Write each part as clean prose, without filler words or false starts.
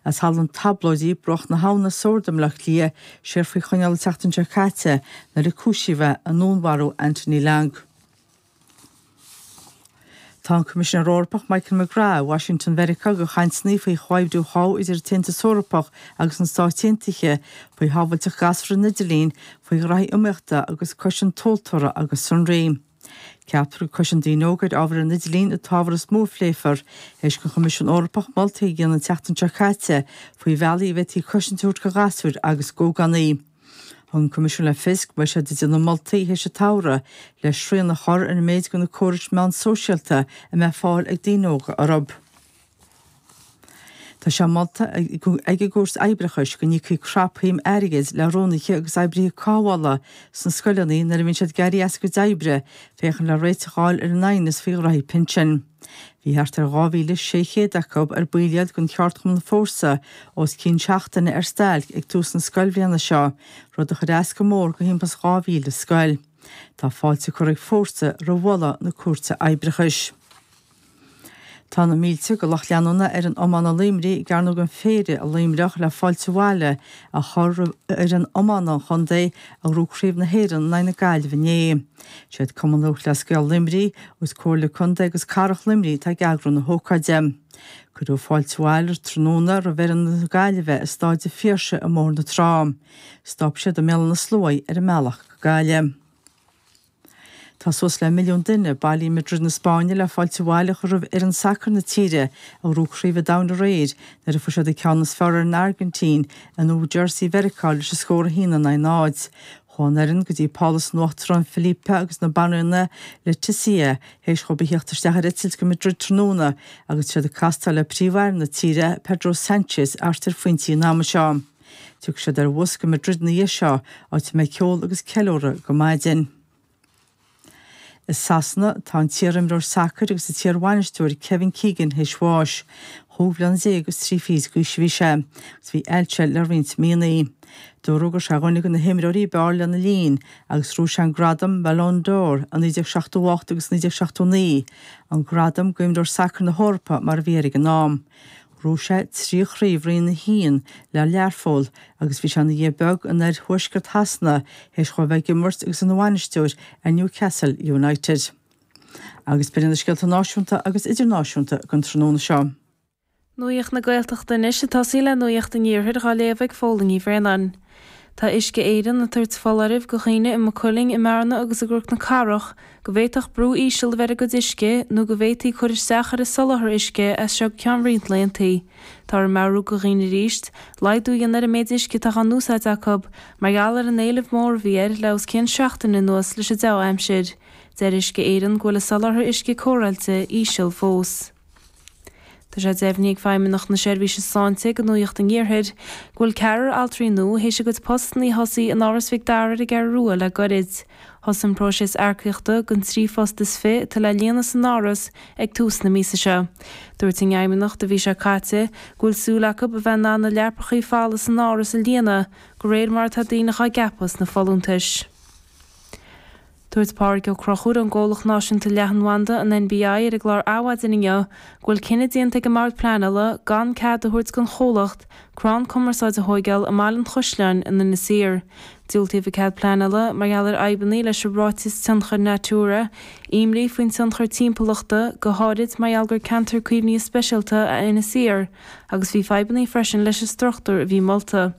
as Halla na dTablóidí, Bruach na hAbhna, Sord i mBaile Átha Cliath, siar faoi choinneáil an tseachtain seo caite nuair a cúisíodh é i ndúnmharú Anthony Long. Tá an Coimisinéir Eorpach Michael McGrath i Washington Mheiriceá do chainteanna faoi chomhoibriú a chothú idir an tAontas Eorpach agus na Stáit Aontaithe, faoi shábháilteacht gasúr ar an idirlíon, faoi ghraithí iomaíochta agus cosaint tomhaltóra agus sonraí. Ceaptar gur cosaint daoine óga ar ábhar ar an idirlíon an t-ábhar is mó a phléifear, théis don Choimisiún Eorpach moltaí a dhéanamh an tseachtain seo caite faoi bhealaí a bhféadfaí cosaint a thabhairt do ghasúir agus d'ógánaigh. Thug an Coimisiún le fios go mbeidh siad ag déanamh moltaí théis an tsamhraidh le srian a chur ar an méid de na córais meán sóisialta a mbeidh fáil ag daoine óga orthu. Tá sé molta ag an gCúirt Oibreachais go n-íocfaí crapshuim airgid le rúnaithe agus oibrithe cothabhála sna scoileanna nuair a bhíonn siad ag éirí as a gcuid oibre féachaint le réiteach a fháil ar an aighneas faoi ghraithí pinsin. Bhí thart ar 2,600 acu, ar baill iad den cheardchumann Fórsa, os cionn seachtaine ar stailc ag tús na scoilbhliana seo, rud a chuir as go mór do thimpeall is 2,000 scoil. Tá fáilte curtha ag Fórsa roimh mholadh na Cúirte Oibreachais. Tá na mílte de lucht leanúna fhoireann iomána Luimnigh i gCearnóg an Phéire i Luimneach le fáilte abhaile a chur roimh fhoireann iomána an chontae a ghnóthaigh Craobh na hÉireann in aghaidh na Gaillimhe inné. Siad Cumann Lúthchleas Gael Luimnigh agus Comhairle Contae agus Cathrach Luimnigh atá ag eagrú na hócáide. Cuireadh fáilte abhaile tráthnóna roimh fhoireann na Gaillimhe i Stáid an Phiarsaigh i mBóthar na Trá. Stop siad i mBéal Átha na Sluaighe ar a mbealach go Gaillimh. Tá suas le milliún duine bailithe i Madrid na Spáinne le fáilte abhaile a chur roimh fhoireann sacair na tíre a ghnóthaigh Craobh an Domhain aréir nuair a fuair siad an ceann is fearr ar an Airgintín i New Jersey Mheiriceá leis an scór 1 in aghaidh 0. Chuaigh an fhoireann go dtí Pálas an Uachtaráin Felipe agus na Banríona Letizia théis dhóibh a theacht isteach ar eitilt go Madrid tráthnóna agus tá siad ag castáil le Príomh-Aire na tíre Pedro Sanchez thart ar phointí an ama seo. Tiocfaidh siad ar bhus go Madrid ina dhiaidh seo, áit a mbeidh ceol agus ceiliúradh go maidin. I Sasana, tá an t-iarimreoir sacair agus an t-iarbhainisteoir Kevin Keegan théis bháis. Chúig bhliana déag agus trí fichid d'aois a bhí sé, agus bhí ailse air le roinnt míonna. Dúradh go raibh sé ar dhuine de na himreoirí ab fhearr lena linn, agus ghnóthaigh sé an gradam Ballon d'Or i 1978 agus 1979, an gradam d'imreoir sacair na hEorpa mar a bhí air ag an am. Ghnóthaigh sé 3 chraobh Roinn 1 le Learpholl agus bhí sé ina dhia beag in oir-thuaisceart Shasana théis dhó a bheith ag imirt agus ina bhainisteoir ar Newcastle United. Agus b'in iad na scéalta náisiúnta agus idirnáisiúnta don tráthnóna seo. Nuacht na Gaeltachta anois ag tosaí le Nuacht an Iarthair dhá léamh ag Fódhla Ní Bhraonáin. Tá Uisce Éireann ag tabhairt foláirimh go dhaoine i Maigh Cuilinn, i mBearna agus i gCnoc na Cathrach go bhféadfadh brú íseal a bheith ar a gcuid uisce nó go bhféadfaí cur isteach ar a soláthar uisce as seo go ceann roinnt laethanta. Táthar ag meabhrú go dhaoine arís laghdú a dhéanamh ar an méid uisce atá á n-úsáid acu mar gheall ar an éileamh mór a bhí air le os cionn seachtaine anuas leis an dea-aimsir. Deir Uisce Éireann go bhfuil a soláthar uisce cóireáilte íseal fós. Tá sé deimhnithe ag Feidhmeannacht na Seirbhíse Sláinte do Nuacht an Iarthair go bhfuil ceathrar altraí nua théis a gcuid postanna a thosaí in Áras Mhic Dara ar an gCeathrú Rua le goirid. Thosaigh an próiseas earcaíochta don 13 phost atá le líonadh san Áras ag tús na míosa seo. Dúirt an Fheidhmeannacht an mhí seo caite go bhfuil súil acu a bheith in ann na leapacha folamh san Áras a líonadh de réir mar atá daoine á gceapadh sna folúntais. Dúirt Pádraig Ó Conchúir ón gComhlacht Náisiúnta Leathanbhanda, an NBI, ar an gclár Adhmhaidin inniu go bhfuil cinneadh déanta ag an mBord Pleanála gan cead a thabhairt don chomhlacht crann cumarsáide a thóigeáil i mBaile an Chaisleáin in Inis Oírr. Diúltaíodh an cead pleanála mar gheall ar fhadhbanna leis an ráiteas tionchair Natura, imní faoin tionchar timpeallachta, go háirid mar gheall gur ceantar caomhnaithe speisialta é Inis Oírr, agus bhí fadhbanna freisin leis an struchtúr a bhí molta.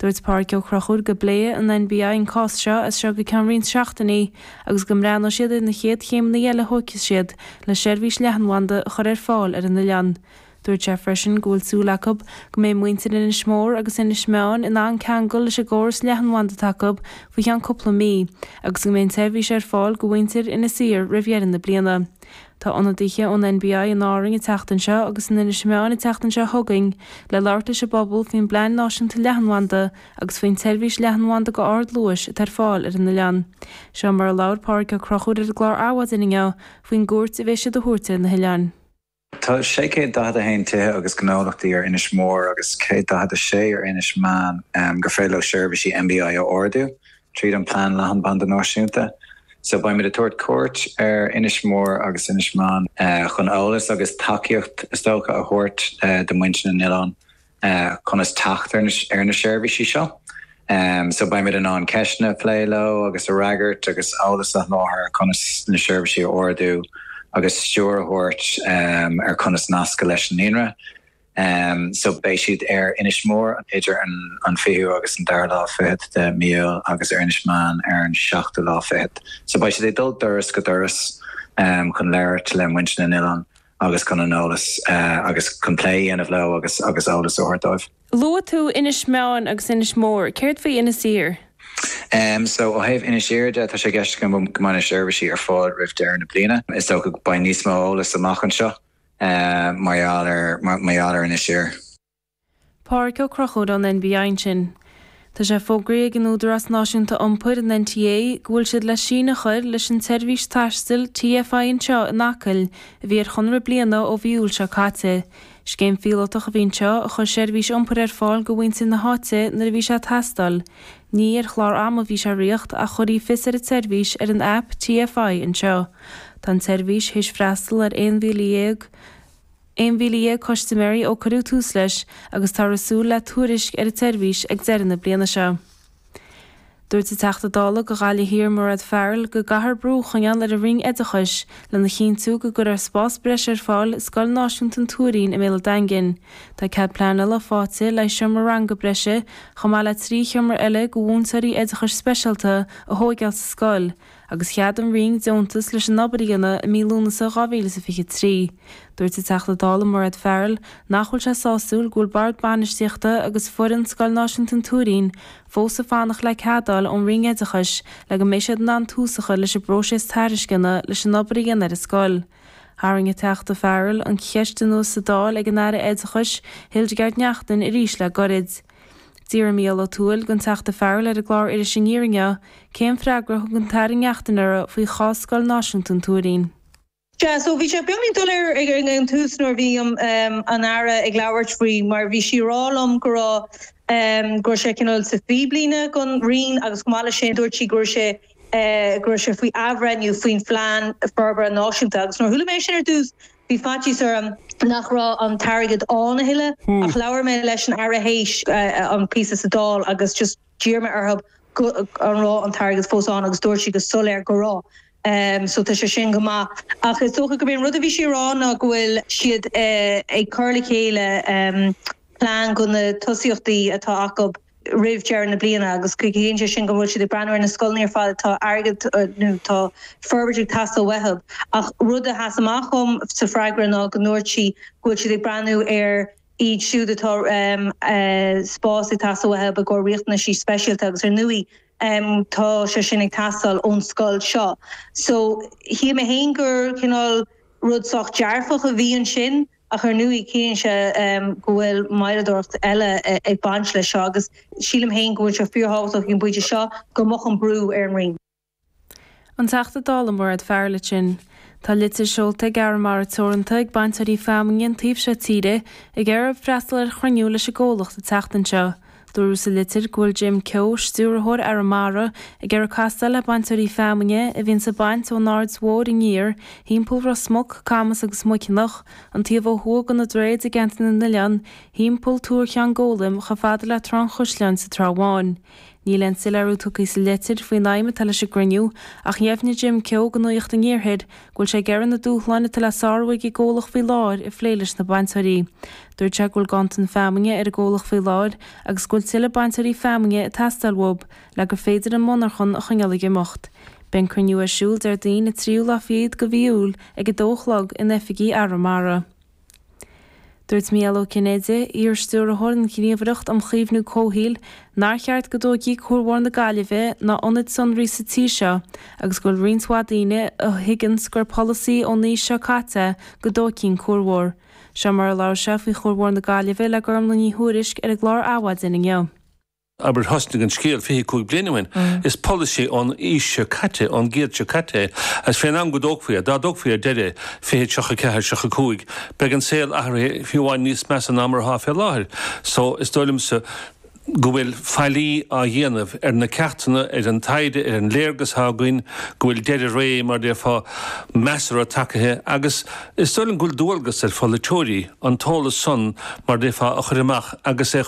Dúirt Pádraig Ó Conchúir go bpléifidh an NBI an cás seo as seo go ceann roinnt seachtainí agus go mbreathnóidh siad ar na chéad chéimeanna eile a thógfaidh siad le seirbhís leathanbhanda a chur ar fáil ar an oileán. Dúirt sé freisin go bhfuil súil acu go mbeidh muintir Inis Mór agus Inis Meáin in ann ceangal leis an gcóras leathanbhanda atá acu faoi cheann cúpla mí agus go mbeidh an tseirbhís ar fáil go mhuintir Inis Oírr roimh dheireadh na bliana. Tá ionadaithe ón NBI in Árainn an tseachtain seo agus in Inis Meáin an tseachtain seo chugainn le labhairt leis an bpobal faoin bPlean Náisiúnta Leathanbhanda agus faoin tseirbhís leathanbhanda go ardluais atá ar fáil ar an oileán. Seo mar a labhair Pádraig Ó Conchúir ar an gclár Adhmhaidin inniu faoin gcuairt a bheidh siad a thabhairt ar na hoileáin. Tá 641 tithe agus gnólachtaí ar Inis Mór agus 146 ar Inis Meáin gur féidir leo seirbhísí NBI a ordú. tríd an Plean Leathanbhanda Náisiúnta. So beimid ag tabhairt cuairt ar Inis Mór agus Inis Meáin chun eolas agus tacaíocht is dócha a thabhairt do muintir na n-oileán. Conas teacht ar na seirbhísí seo. So beimid in ann ceisteanna a phlé leo agus a fhreagairt agus eolas a sholáthar ar conas na seirbhísí a ordú agus stiúir a thabhairt ar conas nascadh leis an líonra. So beidh siad ar Inis Mór idir an 20ú agus an dara lá fichead de mí Iúil agus ar Inis Meáin ar an seachtú lá fichead. So beidh siad ag dul doras go doras chun labhairt le muintir na n-oileán. agus chun an eolas agus chun plé a dhéanamh leo agus agus eolas a thabhairt dóibh. Luaigh tú Inis Meáin agus Inis Mór, céard faoi Inis Oírr? So ó thaobh Inis Oírr de, tá sé i gceist go mbeidh na seirbhísí ar fáil roimh deireadh na bliana. Is dócha go beidh níos mó eolas amach anseo mar gheall ar mar gheall ar Inis Oírr. Pádraic Ó Conchúir ón NBI ansin. Tá sé fógraithe ag an Údarás Náisiúnta Iompair, an NTA, go bhfuil siad le síneadh a chur leis an tseirbhís taistil TFI Anseo in Acaill a bhí ar chonradh bliana ó mhí Iúil seo caite. Scéim phíolótach a bhí anseo a chuir seirbhís iompair ar fáil go mhuintir na háite nuair a bhí sé ag teastáil. Ní ar chlár ama a bhí sé ag ritheacht ach chuirfí fios ar an tseirbhís ar an aip TFI Anseo. Tá an tseirbhís théis freastal ar 11,000 11,000 custaiméirí ó cuireadh tús leis agus táthar ag súil le tuairisc ar an tseirbhís ag deireadh na bliana seo. Dúirt an Teachta Dála do Ghaillimh Thiar Mairéad Farrell go gcaithfear brú a choinneáil ar an Roinn Oideachais lena chinntiú go gcuirfear spás breise ar fáil i Scoil Náisiúnta an Tuairín i mBéal an Daingin. Tá cead pleanála faighte le seomra ranga breise chomh maith le 3 sheomra eile do mhúinteoirí oideachais speisialta a thóigeáil sa scoil agus cheadaigh an Roinn deontas leis an obair a dhéanamh i mí Lúnasa 2023. Dúirt an Teachta Dála Mairéad Farrell nach bhfuil sé sásúil go bhfuil Bord Bainistíochta agus foireann Scoil Náisiúnta an Tuairín fós ag fanacht le cead a fháil ón Roinn Oideachais le go mbeidh siad in ann tús a chur leis an bpróiseas tairisceana leis an obair a dhéanamh ar an scoil. Tharraing an Teachta Farrell an cheist anuas sa Dáil ag an Aire Oideachais Hildegarde Naughton arís le goirid. D'fhiafraigh Mícheál Ó Tuathail den Teachta Farrell ar an gclár Iris Aniar inniu cén freagra a thug an tAire Naughton uirthi faoi chás Scoil Náisiúnta an Tuairín. Sea, so bhí sé beagáinín doiléir ag an tús nuair a bhí an Aire ag labhairt faoi mar bhí sí ag rá liom go raibh, go raibh sé cineál sa phíblíne don Roinn agus chomh maith leis sin dúirt sí go raibh sé, go raibh sé faoi athbhreithniú faoin Phlean Forbartha Náisiúnta agus nuair a chuala mé sin ar dtús Bhí faitíos orm nach raibh an t-airgead ann a thuilleadh ach labhair mé leis an Aire théis an píosa sa Dáil agus just d'iarr mé orthu an raibh an t-airgead fós ann agus dúirt sí go soiléir go raibh. So tá sé sin go maith. Ach is dócha gurb é an rud a bhí sí a rá ná go bhfuil siad ag cur le chéile plean go na tosaíochtaí atá acu roimh deireadh na bliana agus ciallaíonn sé sin go bhfuil siad ag breathnú ar na scoileanna ar fad atá airgead nó tá forbairt ag teastáil uathu. Ach rud a sheas amach dhom sa freagra ná go ndúirt sí go bhfuil siad ag breathnú ar iad siúd atá spás ag teastáil uathu i gcomhair riachtanaisí speisialta agus ar ndóigh tá sé sin ag teastáil ón scoil seo. So shíl mé féin gur cineál rud sách dearfach a bhí ansin. Ach ar ndóigh, ciallaíonn sé go bhfuil moilleadóireacht eile ag baint leis seo agus sílim féin go bhfuil sé fíorthábhachtach ag an bpointe seo go mbeadh an brú ar an Roinn. An Teachta Dála Mairéad Farrell ansin. Tá litir seolta ag Arramara Teoranta ag bainteoirí feamainne an taobh seo tíre ag iarraidh freastal ar chruinniú leis an gcomhlacht an tseachtain seo. Dúradh sa litir go bhfuil Jim Keogh, Stiúrthóir Arramara, ag iarraidh castáil le bainteoirí feamainne a bhíonns ag baint ón Aird Mhóir aniar, thimpeall Ros Muc, Camas agus Muiceanach, an taobh ó thuaidh de na droichid i gCeantar na nOileán, thimpeall Túr Cheann Gólaim chomh fada le Trá an Chaisleáin sa Trá Bháin. Níl aon soiléiriú tugtha sa litir faoin aidhm atá leis an gcruinniú ach dheimhnigh Jim Keogh do Nuacht an Iarthair go bhfuil sé ag iarraidh na dúshláin atá le sárú ag an gcomhlacht faoi láthair a phlé leis na bainteoirí. Dúirt sé go bhfuil ganntan feamainne ar an gcomhlacht faoi láthair agus go bhfuil tuilleadh bainteoirí feamainne ag teastáil uathu le gur féidir an monarchan a choinneáil ag imeacht. Beidh an cruinniú ar siúl Déardaoin an tríú lá fichead de mhí Iúil ag 2 a chlog in oifigí Arramara. Dúirt Mícheál Ó Cinnéide, iar-stiúrthóir an Ghníomhaireacht um Chaomhnú Comhshaoil, nár cheart go dtógfaí Cuar Mhór na Gaillimhe ná ionaid sonraí sa tír seo agus go bhfuil roinnt mhaith daoine a thuigeanns gur polasaí ón aois seo caite go dtógfaí an Cuar Mhór. Seo mar a labhair sé faoi Chuar Mhór na Gaillimhe le Gormlaith Ní Thuairisg ar an gclár Adhmhaidin inniu. Abair, thosnaigh an scéal 25 bliain ó shin. Is polasaí ón aois seo caite, ón gcéad seo caite é. Agus fén am go dtógfaí é, dá dtógfaí ar deireadh, 2034, 35, beidh an saol athraithe fiú amháin níos measa ná mar atá fé láthair. So, is dóigh liomsa. go bhfuil faillí á dhéanamh ar na ceachtanna, ar an taighde, ar an léargas atá againn, go bhfuil deireadh ré, mar a déarfá, measartha tagaithe agus is dóigh liom go bhfuil dualgas ar pholaiteoirí an t-eolas san, mar a déarfá, a chur amach agus é.